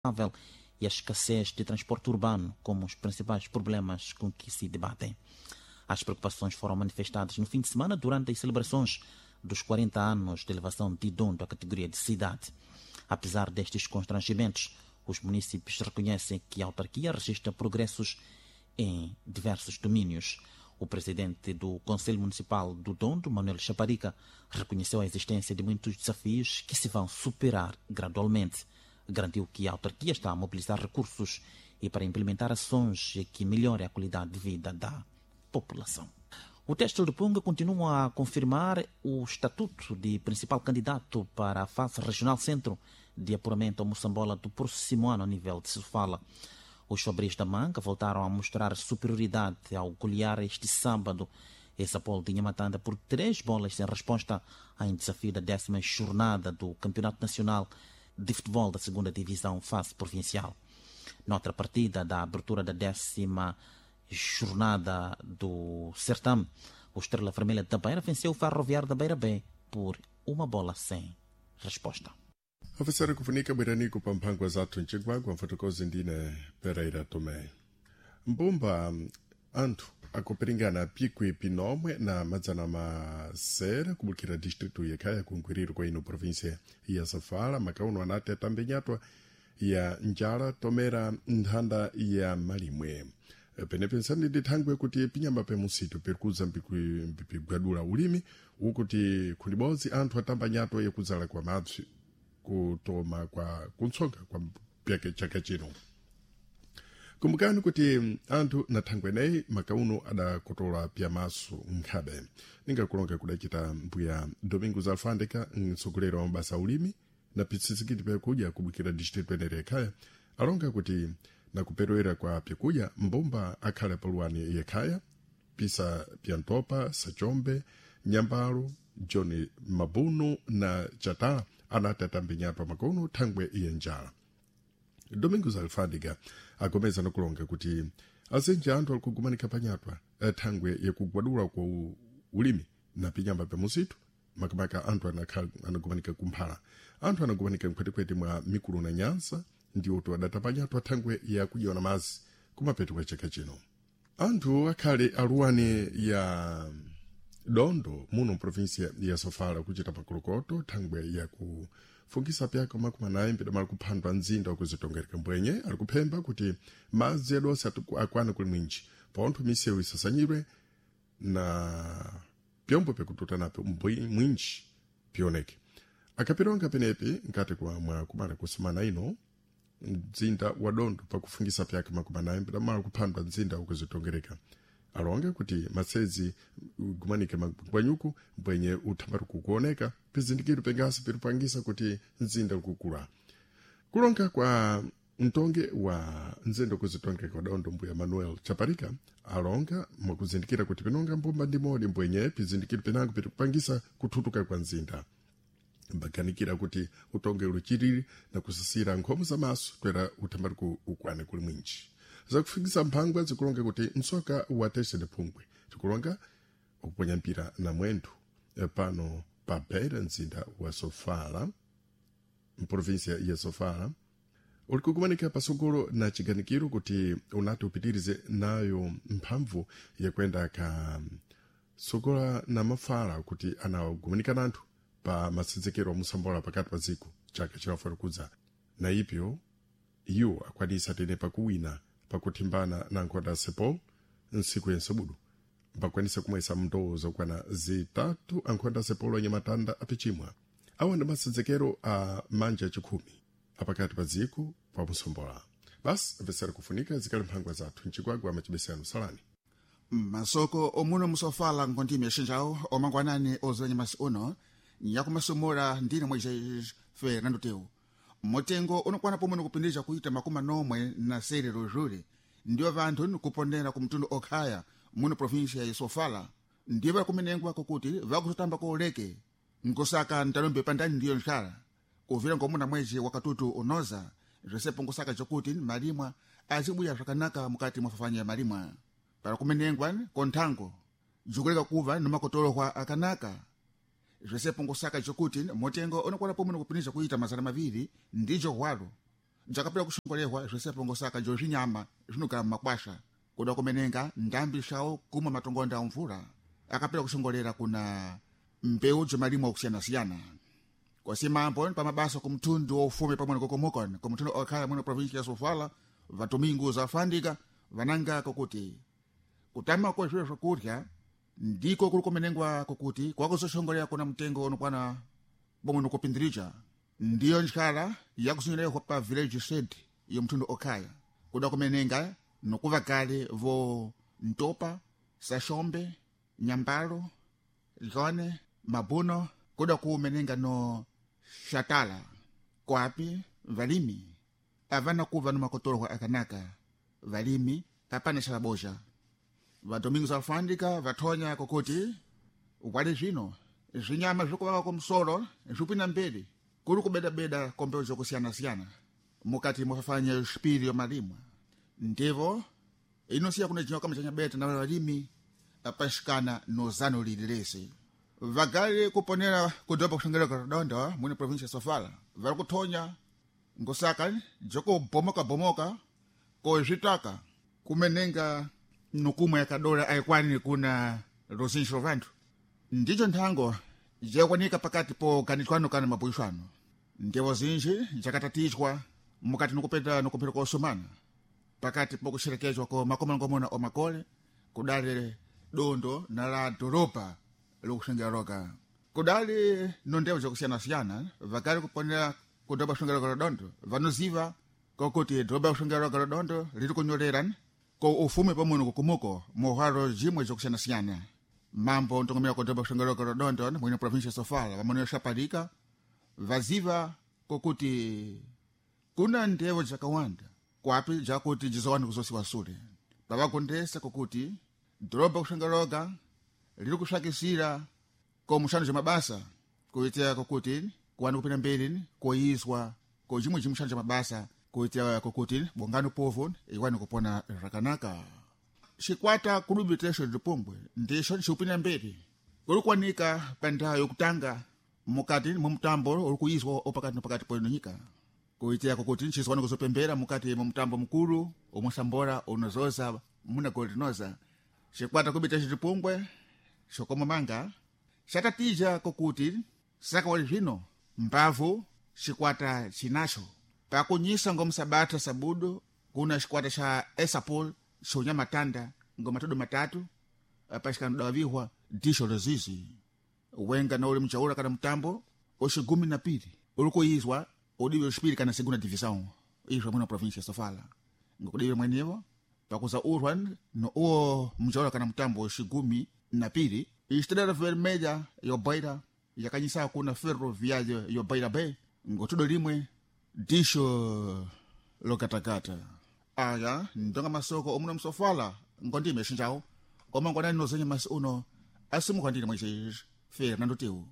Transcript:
E a escassez de transporte urbano como os principais problemas com que se debatem. As preocupações foram manifestadas no fim de semana durante as celebrações dos 40 anos de elevação de Dondo à categoria de cidade. Apesar destes constrangimentos, os munícipes reconhecem que a autarquia registra progressos em diversos domínios. O presidente do Conselho Municipal do Dondo, Manuel Chaparica, reconheceu a existência de muitos desafios que se vão superar gradualmente. Garantiu que a autarquia está a mobilizar recursos e para implementar ações que melhorem a qualidade de vida da população. O Têxtil de Punga continua a confirmar o estatuto de principal candidato para a fase regional centro de apuramento ao Moçambola do próximo ano a nível de Sofala. Os Fabris da Manga voltaram a mostrar superioridade ao golear este sábado esse Apolo de Nhamatanda por 3 bolas sem resposta em desafio da 10ª jornada do Campeonato Nacional de Futebol da Segunda Divisão, fase provincial. Noutra partida da abertura da 10ª jornada do certame, o Estrela Vermelha da Beira venceu o Ferroviário da Beira B por 1 bola sem resposta. Ofisera kufunika bweraniku pa mphangwa zathu mcigwagwa mfotokozi ndine Pereira Tomé. Mbumba anthu akupiringana pikwi pinomwe na madzana masere kubukira distritu yekhaya kunkwiriro kwa ino província ya Sofala makauno anati atambe nyatwa ya njala tomera nthanda ya malimwe. Penepensani ndi thangwe kuti pinyama pe musitu pirikuza mpipigwadula ulimi ukuti khundibodzi anthu atamba nyatwa yakudzala kwa mapsi kutoma kwa kuntsonga kwa pyake chaka chino. Kumbukani kuti anthu na thangwe eneyi makauno adakotola pyamaso nkhabe ningakulonga kudacita mbuya Domingos Alfandeka, mtsogoleri wa mabasa ulimi na pitsitsikiti pyakudya kubukira distritu enere yekhaya, alonga kuti nakuperewera kwa pyakudya mbumba akhale paluwani yekhaya pisa pyantopa, sachombe, nyambalo, John Mabunu na Chatala anati atambe nyatwa makono thangwe iye njala. Domingos Alfadiga agomeza nakulonga kuti azinji anthu ali kugumanika panyatwa thangwe yakugwadula kwa ulimi na pinyamba pa musitu, makamaka anthu anagumanika kumphala, anthu anagumanika mkhwetekhwete mwa mikulu na nyansa ndiwoto adatapa nyatwa thangwe yakudyana na mazi kumapeto kwa chaka chino. Anthu akhale aluwani ya Dondo muno mprovinsia ya Sofala kuchita pakolokoto thangwe yakufungisa pyako 40 mpidamala kuphandwa mzinda wakuzitongereka mbwenye ali kuphemba kuti madzi adonse akwane kuli mwinji pontho misewu isasanyidwe na pyombo pyakututa napyo mwinji pioneke. Akapironga penepi nkati kwa mwa kumala kusumana ino mzinda wa Dondo pakufungisa pyake 40 mpidamala kuphandwa mzinda wakuzitongereka, alonge kuti masezi gumanike magwanyuku mbwenye uthambari kukuoneka pizindikiro pengasi piripangisa kuti mzinda ukukula. Kulonga kwa mtonge wa nzendo kuzitongeka kwa Dondo, mbuya Manuel Chaparika, alonga mwakuzindikira kuti pinonga mbumba ndi modi mbwenye pizindikiro pinango pirikupangisa kuthutuka kwa mzinda, mbaganikira kuti utonge uluchiriri na kusisira nkhomo za maso twera uthambari ukwane kuli mwinji. Zakufikisa mphangwa zikulonga kuti msoka wa Tese Phungwe tikulonga ukuponya mpira na mwendo pano pa Beira, mzinda wa Sofala, mprovinsia ya Sofala, uli kukumanika pasogolo na chiganikiro kuti unati upitirize nayo mphamvu yakwenda ka sogola na mafala kuti anagumanika nanthu pa masenzekero amusambola pakati pa dziko chaka chilafuna kudza, na ipyo iwo akwanisa tene pakuwina pakuthimbana na nkhonda Sepol ntsiku yensebudu, mpakwanisa kumwesa mndowo zokwana 3 ankhonda Sepol anyamatanda apichimwa. Awa ndi masenzekero a manja achikhumi apakati pa dziko pa musombola. Basi apesera kufunika zikali mphangwa zathu mchigwagwa amachibesano salani. Masoko omuno musofala nkontimi yaxinjawo omangwanani ozanya masi uno nyakumasomora ndine Moisés Fernando Teu. Motengo unokwana pomwe nikupindisha kuita 46 rojule ndiwo vanthu nikupondera ku mtundu okhaya muno província ya Sofala ndiwo vakumenengwa kokuti vakutotamba kooleke nkosaka ntalombe pandani ndiyo nxala kuvira ngomuna mwezi wakatutu unoza zvisepo nkosaka cokuti malimwa azibuya zvakanaka mukati mwa fafanya ya malimwa para kumenengwa konthango jukuleka kuva nomakotolokwa akanaka zvisepo nkosaka cokuti motengo unokwana pomwe nikupindisha kuita 200 ndijo hwalo. Jakapera kushongolehwa zvisepo ngosaka jo zvinyama zvinogara mumakwasha kuda kumenenga ndambi shawo kumwa matongonda a mvula akapera kushongolera kuna mbeu jomalimo okusiyana-siyana. Kwasimambo pamabasa kumtundu wa ufume pamwe nikokomokon kumtundu okhala mwino provinsi ya Sofala vatumingu zafandika vananga kokuti kutama kwa zviro zvokurya ndiko kuri kumenengwa kokuti kwakuzoshongolera kuna mtengo unokwana bomwe nokupindirija. Ndiyo ndyala yakuzinyerewa pa village shed yo mtundu okhaya kuda kumenenga nokuva kale vo Ntopa, Sashombe, Nyambalo, Lone, Mabuno kuda kumenenga no Shatala kwapi valimi avana kuva no makotolwa akanaka valimi apana xalaboxa. Vadomingo zafandika vathonya kokuti wali zvino zvinyama zvikuvaka kumsolo zvipina mbeli kuri kubedabeda kombeu zokusiyana-siyana mukati mofafanya xipiri yo malimwa. Ndivo inosiya kuna jinwa kama chanyabeta na valimi apaxikana no zano lili lese vagali kuponera kudopa kuxongereka Redonda mwini província ya Sofala vari kuthonya ngosaka jokubomoka-bomoka kozvitaka kumenenga nukumwe yakadola aikwani kuna luzinji lwa vanthu. Ndicho nthango jakwanika pakati po ganizwano kana mabuishwano. Ndevo zinji jakatatizwa mukati nokupeta nokupita kosomana pakati po kuxerekezwa ko makomanangomona o makole kudali dondo na la doropa lokuxengera roka kudali no ndevo jakusiyana-siyana vakali kuponera kudopa kuxengera Redondo vanoziva kokuti doropa kuxengera roka Redondo liri kunyolera ko ufume pamwe nokukumuko muhwalo jimwe jakusiyana-siyana. Mambo ntongomera kudopa kuxengera roka Redondo mwene província ya Sofala vamene xapalika vaziva kokuti kuna ndevo jakawanda kwapi jakuti jizowani kuzosiwa sule pavagondesa kokuti doroba kuxengeroga liri kuxakisira ko muxando ja mabasa kuitira kokuti kuwani kupinda mberi koyizwa ko jimwe jimuxando ja mabasa kuitira kokuti bongano povo iwani kupona zvakanaka. Xikwata kulubitexo lipumbwe ndixo xiupinda mberi kuri kuwanika pa ndau yokutanga mukati mwa mutambo uri kuyizwa opakati nopakati po nyika kuitira kokuti nchizwani kuzopembera mukati mwa mutambo mukulu omwe unozoza muna golinoza. Xikwata kubita xitipungwe xokomamanga xatatija kokuti saka wali zvino mbavu xikwata xinaxo pakunyisa ngomsabata sabudu kuna xikwata xa esapol xonyamatanda ngomatodo matatu apaxikanodawavihwa dixo lozizi wenga na uli mchaula kana mutambo oxigumi na pili uli kuyizwa udiwe xipiri kana segunda divisão izwa mwina província ya Sofala ngokudiwe mwenevo pakuza urwa no uwo mchaula kana mutambo oxigumi na pili Estrela Vermelha yobaira yakanyisa kuna Ferroviária yobaira bay ngotudo limwe dixo lokatakata. Aya ndonga masoko omuna msofala ngondime xinjawo omangwanani nozenya masi uno asimuka ndine mwaixexi Fernando Teu.